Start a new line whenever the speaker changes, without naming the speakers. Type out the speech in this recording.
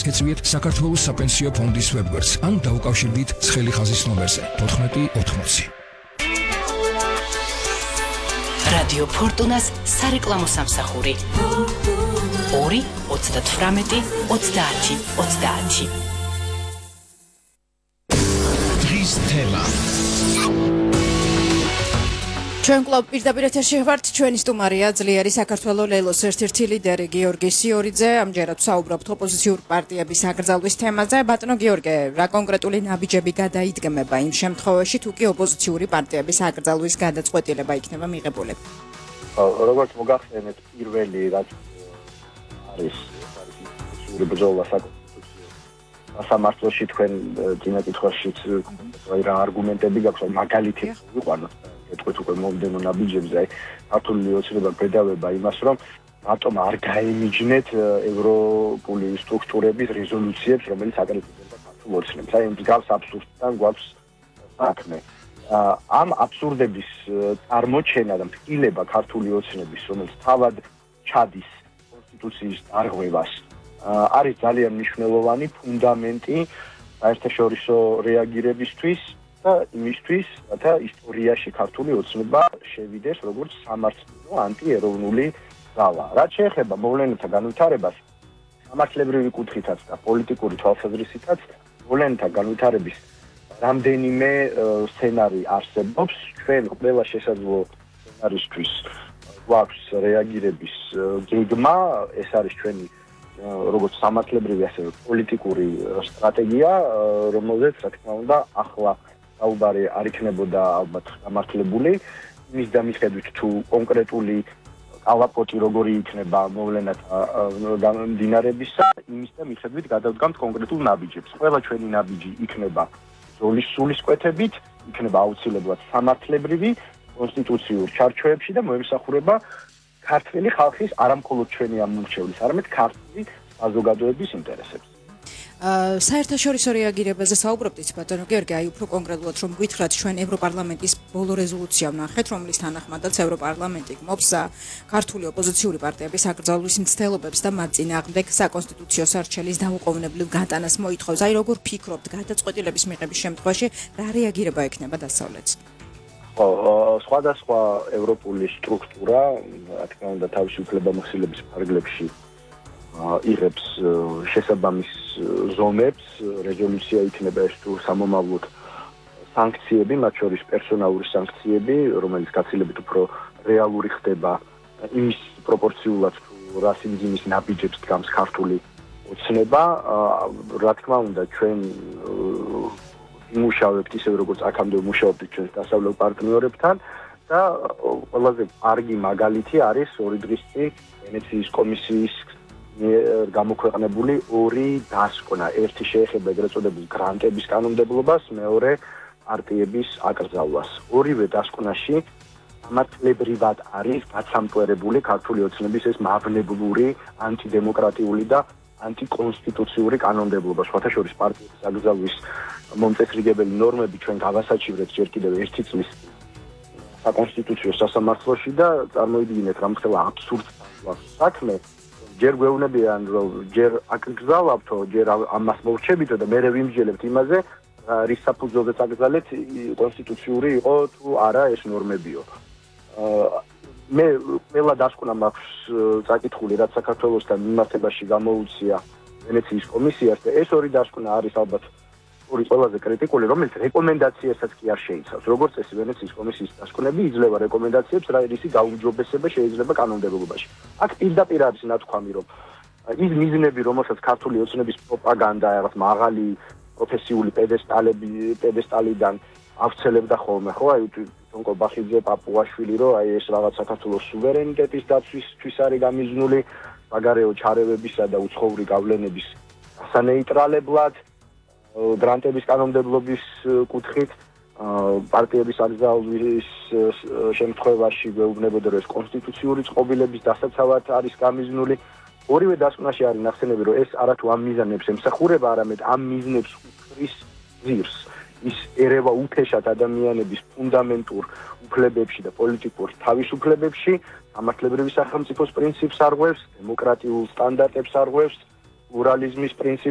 ეხეცვიეთ საქართველოს საპენსიო ფონდის ვებგვერდს ან დაუკავშირდით ცხელი ხაზის ნომერზე 1480.
რადიო ფორტუნას სარეკლამო სამსახური 2 38 30 30.
დღის თემა
ჩვენ კლუბ პირდაპირ ეთერში ვართ, ჩვენი სტუმარია ძლიერი საქართველოს ლელოს ერთ-ერთი ლიდერი გიორგი სიორიძე. ამჯერად ვსაუბრობთ ოპოზიციური პარტიების აკრძალვის თემაზე. ბატონო გიორგი, რა კონკრეტული ნაბიჯები გადაიდგმება იმ შემთხვევაში, თუ კი ოპოზიციური პარტიების აკრძალვის გადაწყვეტილება იქნება მიღებული?
როგორც მოგახსენეთ, პირველი რაც არის ბრძოლა სასამართლოში თქვენ წინა კითხვაშიც რა არგუმენტები გაქვთ, მაგალითი ვიყვანოთ. ეთქვით უკვე მომდენო ნაბიჯებზე, ქართული ოცნება გვედავება იმას, რომ რატომ არ გაემიჯნეთ ევროპული სტრუქტურების რეზოლუციებს, რომელიც აკრიტიკებდა ქართულ ოცნებს. აი, მსგავს აბსურდთან გვაქვს საქმე. ამ აბსურდების წარმოჩენა და მტკილება ქართული ოცნების, რომელიც თავად ჩადის კონსტიტუციის დარღვევას, არის ძალიან მნიშვნელოვანი ფუნდამენტი საერთაშორისო რეაგირებისთვის და იმისთვის, რათა ისტორიაში ქართული ოცნება შევიდეს როგორც სამართლებრივი ანტიეროვნული ძალა. რაც შეეხება მოვლენათა განვითარებას, სამართლებრივი კუთხითაც და პოლიტიკური თვალსაზრისითაც, მოვლენათა განვითარების რამდენიმე სცენარი არსებობს. ჩვენ ყველა შესაძლო სცენარისთვის გვაქვს რეაგირების გეგმა, ეს არის ჩვენი როგორც სამართლებრივი, ასევე პოლიტიკური სტრატეგია, რომელზეც რა თქმა უნდა ახლა საუბარი არ იქნებოდა ალბათ გამართლებული, იმის და მიხედვით თუ კონკრეტული კალაპოტი როგორი იქნება მოვლენათა გამდინარებისა, იმის და მიხედვით გადავდგამთ კონკრეტულ ნაბიჯებს. ყველა ჩვენი ნაბიჯი იქნება ზოლის სულისკვეთებით, იქნება აუცილებლად სამართლებრივი, კონსტიტუციურ ჩარჩოებში და მოემსახურება ქართული ხალხის არამხოლოდ ჩვენი ამომრჩევლის, არამედ ქართული საზოგადოების ინტერესებს.
საერთაშორისო რეაგირებაზე საუბრობთ, ბატონო გიორგი, აი უფრო კონკრეტულად რომ გითხრათ, ჩვენ ევროპარლამენტის ბოლო რეზოლუცია ვნახეთ, რომლის თანახმადაც ევროპარლამენტი გმობს ქართული ოპოზიციური პარტიების აკრძალვის მცდელობებს და მათ წინააღმდეგ საკონსტიტუციო სარჩელის დაუყოვნებლივ გატანას მოითხოვს. აი როგორ ფიქრობთ, გადაწყვეტილების მიღების შემთხვევაში რა რეაგირება ექნება დასავლეთს?
სხვადასხვა ევროპული სტრუქტურა, რა თქმა უნდა, თავისი უფლებამოსილების ფარგლებში იღებს შესაბამის ზონებს, რეზოლუცია იქნება ეს თუ სამომავლოდ სანქციები, მათ შორის პერსონალური სანქციები, რომელიც გაცილებით უფრო რეალური ხდება იმის პროპორციულად თუ რა სიმძიმის ნაბიჯებს დგამს ქართული ოცნება. რა თქმა უნდა, ჩვენ იმუშავებთ ისე როგორც აქამდე ვმუშაობდით ჩვენს დასავლელ პარტნიორებთან და ყველაზე კარგი მაგალითი არის 2 დღის წინ ვენეციის კომისიის გამოქვეყნებული 2 დასკვნა. ერთი შეეხება ეგრეთ წოდებული გრანტების კანონმდებლობას, მეორე პარტიების აკრძალვას. ორივე დასკვნაში სამართლებრივად არის გაცამტვერებული ქართული ოცნების ეს მავნებლური, ანტიდემოკრატიული და ანტიკონსტიტუციური კანონმდებლობა. სხვათა შორის პარტიების აკრძალვის მომწესრიგებელი ნორმები ჩვენ გავასაჩივრეთ ჯერ კიდევ 1 წლის საკონსტიტუციო სასამართლოში და წარმოიდგინეთ რამხელა აბსურდს საქმე. ჯერ გვეუბნებიან, რომ ჯერ აკრძალავთო, ჯერ ამას მოვრჩებითო და მერე ვიმსჯელებთ იმაზე, რის საფუძველზეც აკრძალეთ, კონსტიტუციური იყო თუ არა ეს ნორმებიო. მე ყველა დასკვნა მაქვს წაკითხული, რაც საქართველოსთან მიმართებაში გამოუცია ვენეციის კომისიას და ეს 2 დასკვნა არის ალბათ ყველაზე კრიტიკული, რომელიც რეკომენდაციასაც კი არ შეიცავს. როგორც წესი ვენეციის კომისიის დასკვნები იძლევა რეკომენდაციებს, რა რისი გაუმჯობესება შეიძლება კანონმდებლობაში. აქ პირდაპირ არის ნათქვამი, რომ ის მიზნები, რომელსაც ქართული ოცნების პროპაგანდა, რაღაც მაღალი პროფესიული პედესტალიდან ავრცელებდა ხოლმე, ხო, აი თვითონ კობახიძე, პაპუაშვილი, რომ აი ეს რაღაც საქართველოს სუვერენიტეტის დაცვისთვის არის გამიზნული, საგარეო ჩარევებისა და უცხოური გავლენების ასანეიტრალებლად გრანტების კანონმდებლობის კუთხით პარტიების აკრძალვის შემთხვევაში გვეუბნებოდა, რომ ეს კონსტიტუციური წყობილების დასაცავად არის გამიზნული. ორივე დასკვნაში არის ნახსენები, რომ ეს არათუ ამ მიზანებს ემსახურება, არამედ ამ მიზნებს უხდის ძირს. ის ერევა უთეშად ადამიანების ფუნდამენტურ უფლებებში და პოლიტიკურ თავისუფლებებში, სამართლებრივი სახელმწიფოს პრინციპს არღვევს, დემოკრატიულ სტანდარტებს არღვევს, პლურალიზმის პრინციპს